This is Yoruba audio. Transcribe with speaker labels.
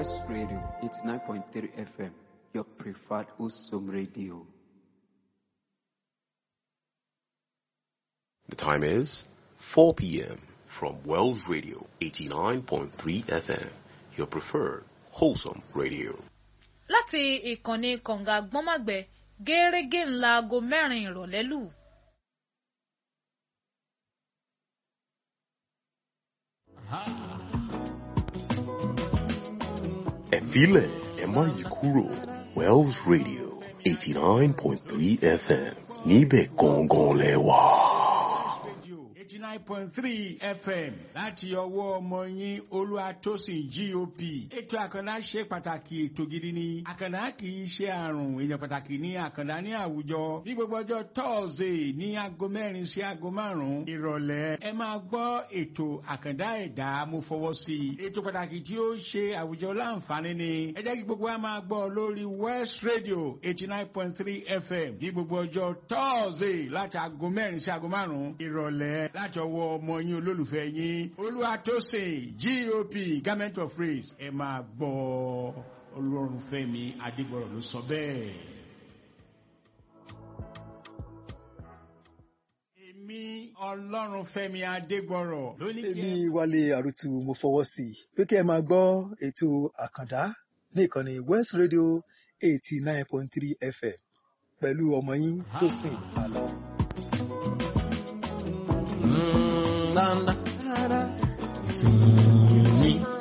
Speaker 1: West Radio 89.3 FM, your preferred Usum radio.
Speaker 2: The time is 4 p.m. from Wells Radio 89.3 FM, your preferred wholesome radio.
Speaker 3: Láti ìkànnì kànga gbọ́nmàgbẹ́ gẹ́rẹ́gẹ́ ńlá aago 4 ìrọ̀lẹ́ lù.
Speaker 2: Ẹ filẹ̀ ẹ má yí kúrò, Wells Radio 89.3 FM, níbẹ̀ gangan lẹ wà.
Speaker 4: 89.3 FM láti ọwọ́ ọmọ yín Olúwatósìn GOP. Ètò Àkàndá ṣe pàtàkì, ètò gidi ni. Àkàndá kì í ṣe àrùn, èèyàn pàtàkì ní Àkàndá ní àwùjọ. Ní gbogbo ọjọ́ Tọ́ọ̀sì ní aago 4 sí aago 5 ìrọ̀lẹ́. Ẹ máa gbọ́ ètò Àkàndá Ẹ̀dá, mo fọwọ́ sí i. Ètò pàtàkì tí ó ṣe àwùjọ láǹfààní ni. Ẹ jẹ́ kí gbogbo wa máa gbọ́ lórí West Radio 89.3 FM ní gbogbo ọjọ́ Tọ́ọ̀sì láti aago 4 sí aago 5 ìrọ̀lẹ́ láti ọwọ́ ọmọ yín olólùfẹ́ yín Olúwatósìn GOP, Government of Praise. Ẹ máa gbọ́, Ọlọ́runfẹ́mi Adégbọ̀rọ̀ ló sọ bẹ́ẹ̀. Èmi Ọlọ́runfẹ́mi Adégbọ̀rọ̀ ló ní kí ẹ.
Speaker 5: Èmi Wálé Àrùtù, mo fọwọ́ sí i pé kí ẹ máa gbọ́ ètò Àkàndá ní ìkànnì West Radio 89.3 FM pẹ̀lú ọmọ yín Tósìn Àlọ́.
Speaker 6: Ìtùnú.